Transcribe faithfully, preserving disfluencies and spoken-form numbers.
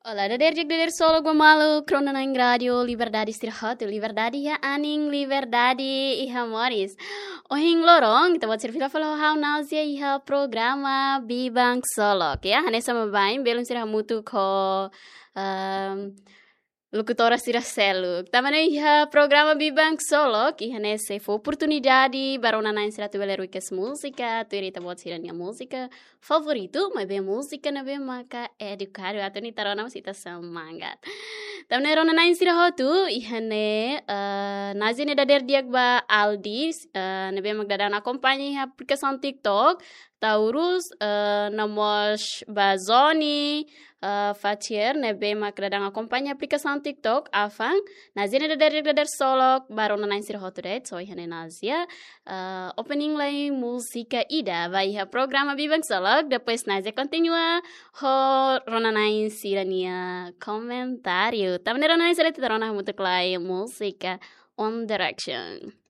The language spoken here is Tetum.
Olá, dader di'ak, dader solok ba maluk rona-na'in Rádio Liberdade sira hotu, liberdade iha anin, liberdade iha moris. Ohin loron, ita-boot sira fila fali ho ha'u Nazia iha programa Biban Ksolok, ya, hanesan baibain, belun sira hamutuk ho, ehm, lokutora sira seluk. Tanba ne'e iha programa Biban Ksolok, iha ne'e sei fó oportunidade ba rona-na'in sira atu bele ruikas múzika, tuir ita-boot sira-nia múzika favoritu, maibé múzika ne'ebé maka edukadu, atu nune'e ita rona mós ita semangat. Tanba ne'e rona-na'in sira hotu, iha ne'e, eh, Nazia ne'e dader di'ak ba Aldi, eh, ne'ebé mak daudaun akompaña iha aplikasaun TikTok, Taurus, eh, no mós ba Zoni, eh, Fatier, ne'ebé mak daudaun akompaña aplikasaun TikTok, Afan, Nazia ne'e dader di'ak, dader solok ba rona-na'in sira hotu de'it, so iha ne'e Nazia, eh, opening lae múzika ida ba iha programa Biban Ksolok, depois Nazia kontinua ho rona-na'in sira-nia komentáriu. Tanba ne'e rona-na'in sira, ita rona hamutuk lae múzika One Direction.